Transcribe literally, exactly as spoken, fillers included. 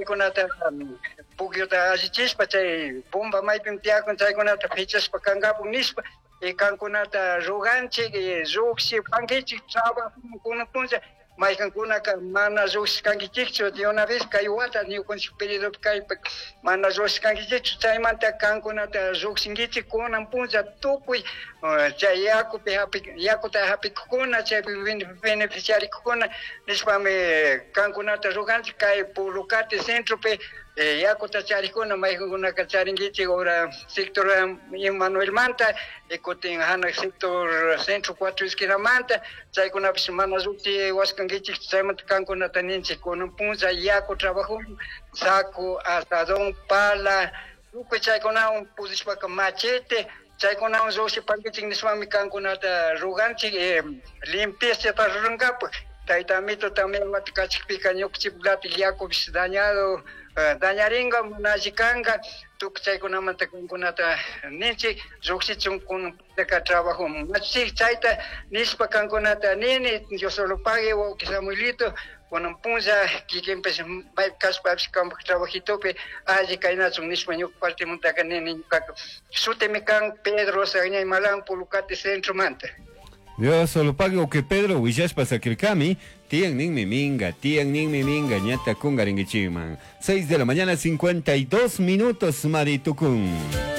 Chaykunata pukyuta allichishpa chay bomba maypim tiyakun chaykunata pichashpa kankapuk nishpa y kankunata ruganchik y llukshi pankichik trabajo kunan punlla maykankunaka mana llukshishkankichikchu de una vez kay wata ñukanchik periodopi kaypi mana llukshishkankichikchu chaymanta kankunata llukshinkichik kunan punlla tukuy chay yakupi hapi yakuta hapikukuna chaypi beneficiarikukuna nishpami kankunata ruganchik kay Pulucate centropi yakuta charikuna maykankunaka charinkichik ora sector Emmanuelmanta y kutin hanak sector centro cuatro esquinamanta chaykunapish mana lluqchi waskankichik chaymanta kankunata ninchik kunan punlla yaku trabajo saco azadón pala tukuy chaykunawan pudishpaka machete chaykunawan lluqshipankichik nishpami kankunata ruganchik limpiezata rurankapak tayta amito también wata kachikpika ñukanchik yakupish dañado dañaringa mana alli kanka tukuy chaykunamanta kankunata ninchik llukshichun kunanka trabajo machik chayta nishpa kankunata nini Dios solo pague wawki Samuelito kunan punlla kikinpish maypi kashpapish kanpak trabajitopi alli kaynachun nishpa ñuka partimantaka nini ñukaka shutimi kan Pedro Sagñay Malan Pulucate centromanta. Dios solo pague que Pedro willashpa sakirkami tiyan ninmi minga, tiyan ninmi minga, ñata kungarinkichikman. seis de la mañana, cincuenta y dos minutos, Maritukun.